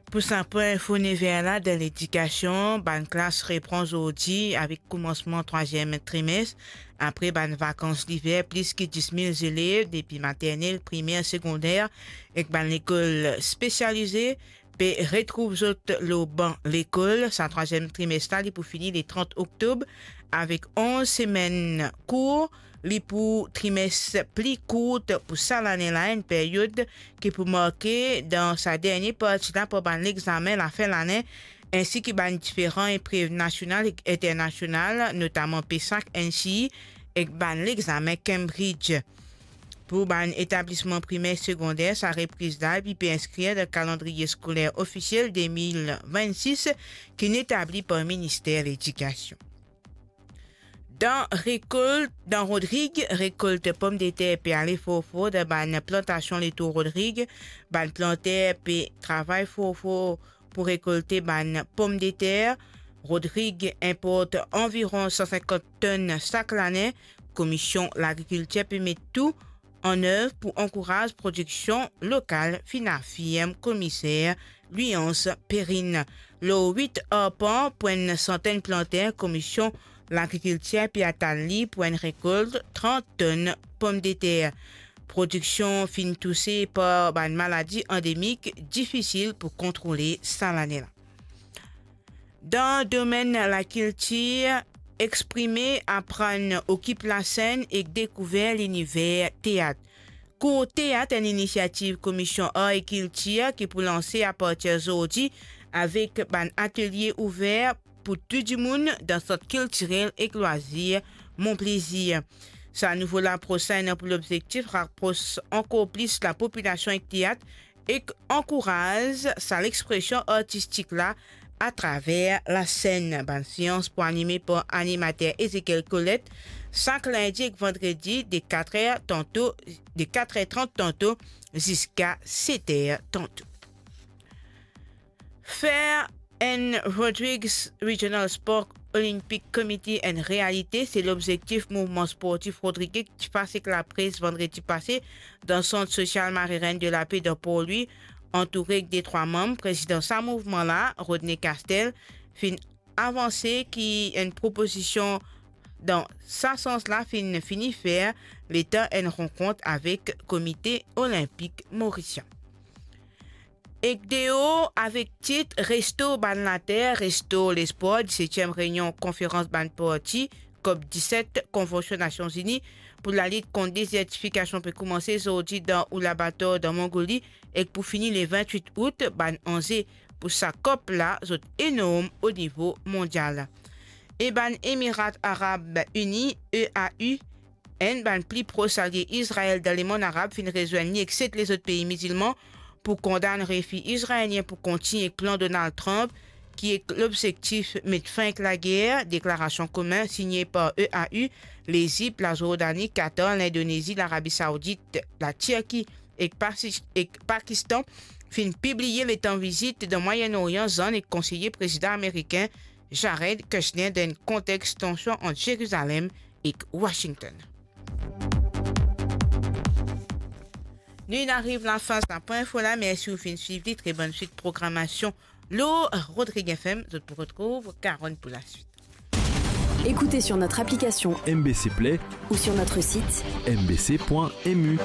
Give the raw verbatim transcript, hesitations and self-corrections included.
Pou sa pwin info nev er la, dan ledikasion, bann klas repran zordi avek koumansman trwaziem trimes. Apre bann vakans liver, plis ki dis mil zelev depi maternel, primer, segonder ek bann lekol spesialize pe retrouv zot lor ban lekol. Sa trwaziem trimes la, li pou fini le trant oktob avek onz semenn kour. Li pou trimes pli kourt pou sa lane la, enn peryod ki pou marke dan sa dernie parti la par bann lexamen lafin lane, ensi ki bann diferan eprev nasional ek internasional, notaman PESAC, NCEE ek bann lexamen Cambridge. Pou bann etablisman primer, segonder, sa repriz la, li pe inskrir dan kalandriye skoler ofisiel de mil vennsis ki'nn etabli par Minister Ledikasion. Dan rekolt, dan Rodrig, rekolt pomdeter pe ale for for dan bann plantasion letour Rodrig. Bann planter pe travay for for pou rekolte bann pomdeter. Rodrig inport anviron san sinkant tonn sak lane. Komisyon Lagrikiltir pe met tou annev pou ankouraz prodiksion lokal, finn afirm komiser Louis-Ange Perrine. Lor wit arpan pou enn santenn planter, Komisyon Lagrikiltir pe atann li pou enn rekolt trant tonn pomdeter. Prodiksion finn touse par bann maladi andemik difisil pou kontrole sa lane la. Dan domenn lakiltir, exprime, aprann, okip lasenn ek dekouver liniver teat. Kour teat, enn inisiativ Komisyon Ar ek Kiltir ki pou lanse apartir zordi avek bann atelie ouver pou tou dimoun dan Sant Kiltirel ek Lwazir Mon Plezir. Sa nouvo lapros la ena pou lobzektif rapros ankor plis lapopilasion ek teat ek ankouraz sa lexpresion artistik la atraver lasenn. Bann seans pou anime par animater Ezekiel Colette sak lindi ek vandredi de katrer tanto, de katrer trant tanto ziska seter tanto. Fer enn Rodrigues Regional Sport Olympic Committee enn realite, se lobzektif mouvman sportif rodrige ki ti fas ek lapres vandredi pase dan Sant Sosial Marie Reine de la Paix dan Port Louis, antoure ek detrwa manm. Prezidan sa mouvman la, Rodney Castel, finn avanse ki enn propozision dan sa sans la finn fini fer letan enn rankont avek Komite Olinpik Morisien. Ek deor avek tit Restor bann later, restor lespwar, disetiem reynion konferans bann parti, COP diset, Konvansion Nasion Zini pou lalit kont dezertifikasion pe koumanse zordi dan Ulaanbaatar dan Mongoli ek pou fini le vintwit out. Bann anze pou sa COP la, zot enorm o nivo mondial. E bann Emirat Arab Ini, E A U, enn bann pli pros alie Izrael dan lemonn arab, finn rezwenn li ek set lezot pei mizilman pou kondann refi izraelien pou kontign ek plan Donald Trump, ki ek lobzektif met fin ek lager. Deklarasion komin signe par E A U, Lezip, Lazordani, Katar, Lindonezi, Larabi Saoudit, Latirki ek Pasi-, ek Pakistan finn pibliye letan vizit dan Mwayen Oryan Zann ek konseye prezidan amerikin Jared Kushner dan enn kontex tansion ant Zerizalem ek Washington. Nou inn ariv lafin sa pwin info la. Mersi ou finn swiv li. Tre bonn swit programasion lor Rodrigues F M. Zot pou retrouv Karen pou laswit. Écoutez sur notre application M B C Play ou sur notre site M B C point M U.